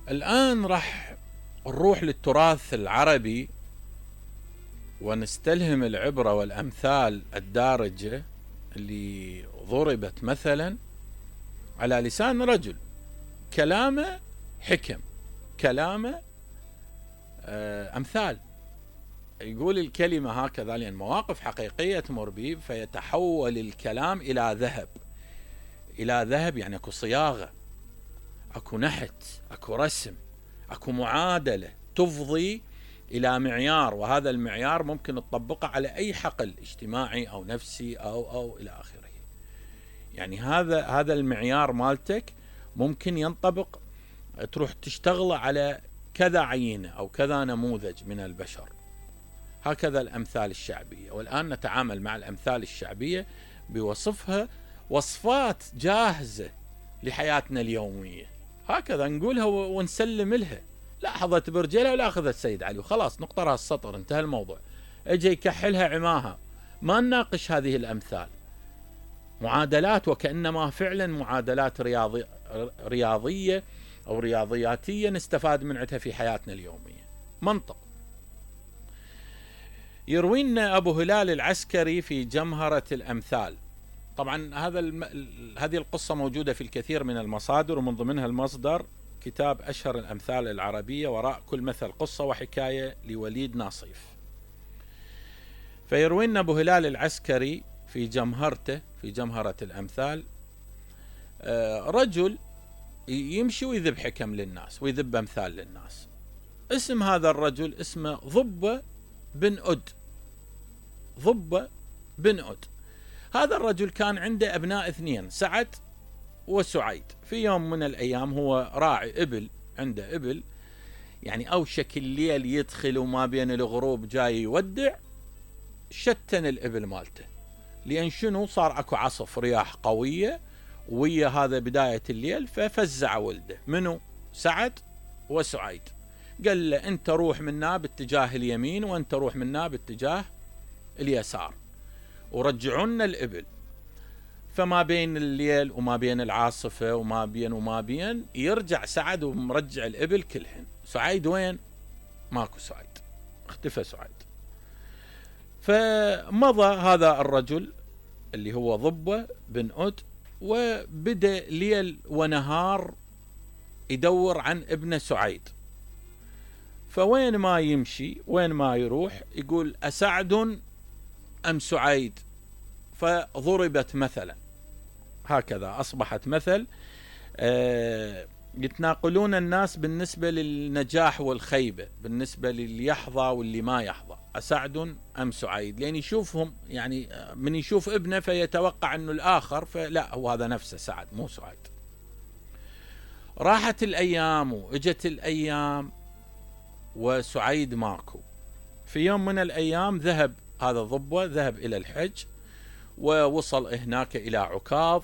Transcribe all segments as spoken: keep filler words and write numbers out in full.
الآن راح نروح للتراث العربي ونستلهم العبرة والأمثال الدارجة اللي ضربت مثلا على لسان رجل، كلامه حكم، كلامه أمثال، يقول الكلمة هكذا لأن مواقف حقيقية تمر به، فيتحول الكلام إلى ذهب. إلى ذهب يعني أكو صياغة، أكو نحت، أكو رسم، أكو معادلة تفضي إلى معيار، وهذا المعيار ممكن تطبقه على أي حقل اجتماعي أو نفسي أو أو إلى آخره. يعني هذا هذا المعيار مالتك ممكن ينطبق، تروح تشتغل على كذا عينة أو كذا نموذج من البشر. هكذا الأمثال الشعبية، والآن نتعامل مع الأمثال الشعبية بوصفها وصفات جاهزة لحياتنا اليومية، هكذا نقولها ونسلم لها. لا حظت برجلها ولا أخذت السيد علي وخلاص، نقطة راس السطر، انتهى الموضوع. اجي يكحلها عماها، ما نناقش هذه الأمثال، معادلات وكأنما فعلا معادلات رياضي رياضية أو رياضياتية نستفاد من عندها في حياتنا اليومية. منطق. يروي لنا أبو هلال العسكري في جمهرة الأمثال. طبعا هذا الم... هذه القصة موجودة في الكثير من المصادر، ومن ضمنها المصدر كتاب أشهر الأمثال العربية، وراء كل مثل قصة وحكاية لوليد ناصيف. فيروي لنا أبو هلال العسكري في جمهرته في جمهرة الأمثال رجل يمشي ويذب حكم للناس ويذب أمثال للناس. اسم هذا الرجل اسمه ضبة بن أد. ضبة بن أد. هذا الرجل كان عنده أبناء اثنين، سعد وسعيد. في يوم من الأيام هو راعي إبل، عنده إبل، يعني أوشك الليل يدخل وما بين الغروب جاي يودع، شتن الإبل مالته، لأن شنو صار أكو عصف رياح قوية ويا هذا بداية الليل، ففزع ولده منو؟ سعد وسعيد. قال له أنت روح منا باتجاه اليمين وأنت روح منا باتجاه اليسار ورجعونا الإبل. فما بين الليل وما بين العاصفة وما بين وما بين يرجع سعد ومرجع الإبل كلهن. سعيد وين؟ ماكو سعيد، اختفى سعيد. فمضى هذا الرجل اللي هو ضبة بن أد، وبدأ ليل ونهار يدور عن ابن سعيد. فوين ما يمشي وين ما يروح يقول أسعد أم سعيد، فضربت مثلا. هكذا أصبحت مثل آه يتناقلون الناس بالنسبة للنجاح والخيبة، بالنسبة للي يحظى واللي ما يحظى، أسعد أم سعيد، لأن يشوفهم يعني من يشوف ابنه فيتوقع أنه الآخر، فلا هو هذا نفسه سعد مو سعيد. راحت الأيام وإجت الأيام وسعيد ماكو. في يوم من الأيام ذهب هذا الضبة ذهب إلى الحج، ووصل هناك إلى عكاظ،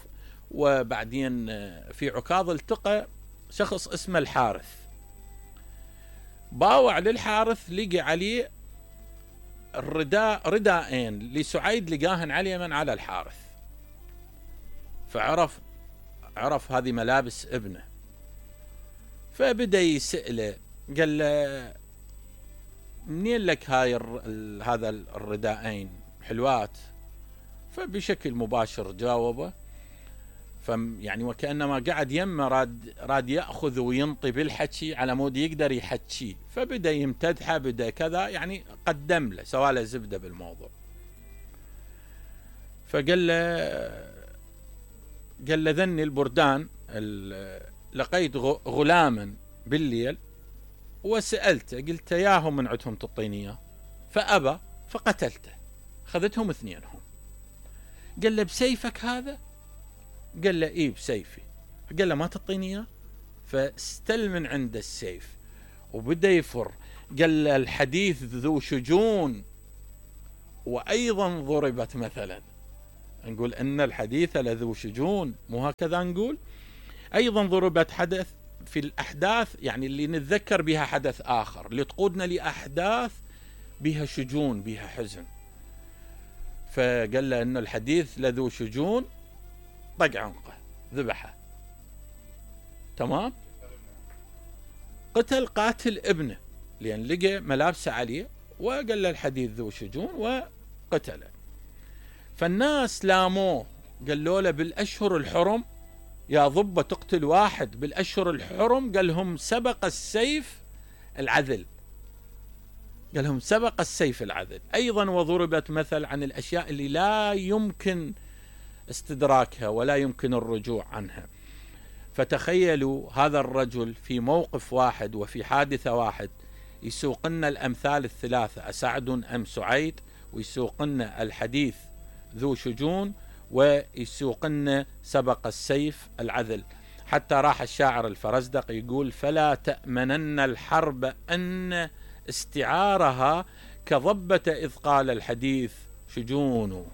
وبعدين في عكاظ التقى شخص اسمه الحارث. باوع للحارث، لقى عليه الرداء رداءين لسعيد لقاهن عليه من على الحارث، فعرف عرف هذه ملابس ابنه. فبدأ يسأله، قال له منين لك هاي هذا الرداءين حلوات؟ فبشكل مباشر جاوبه، يعني وكأنما قاعد يمه راد راد يأخذ وينطي بالحكي على مود يقدر يحكي. فبدأ يمتدحه، بدأ كذا، يعني قدم له سوى له زبدة بالموضوع. فقال له قال له ذني البردان، لقيت غلاما بالليل وسألته، قلت ياهم من عندهم تعطيني اياه، فأبى فقتلته، خذتهم اثنينهم. قال له بسيفك هذا؟ قال له ايه بسيفي. قال له ما تعطيني اياه؟ فاستل من عند السيف وبدأ يفر. قال له الحديث ذو شجون وأيضا ضربت مثلا. نقول أن الحديث لذو شجون، مو هكذا نقول؟ أيضا ضربت حدث في الأحداث، يعني اللي نتذكر بها حدث آخر، اللي تقودنا لأحداث بها شجون بها حزن. فقال له أن الحديث لذو شجون، طق عنقه ذبحه. تمام؟ قتل قاتل ابنه لأن لقى ملابسه عليه وقال له الحديث ذو شجون وقتله. فالناس لاموه، قالوا له بالأشهر الحرم يا ضبة تقتل واحد بالأشهر الحرم؟ قال لهم سبق السيف العدل، قال لهم سبق السيف العدل. أيضا وضربت مثل عن الأشياء اللي لا يمكن استدراكها ولا يمكن الرجوع عنها. فتخيلوا هذا الرجل في موقف واحد وفي حادثة واحد يسوق لنا الأمثال الثلاثة، أسعد أم سعيد، ويسوق لنا الحديث ذو شجون، ويسوق لنا سبق السيف العدل. حتى راح الشاعر الفرزدق يقول: فلا تأمنن الحرب أن استعارها كضبة إذ قال الحديث شجون.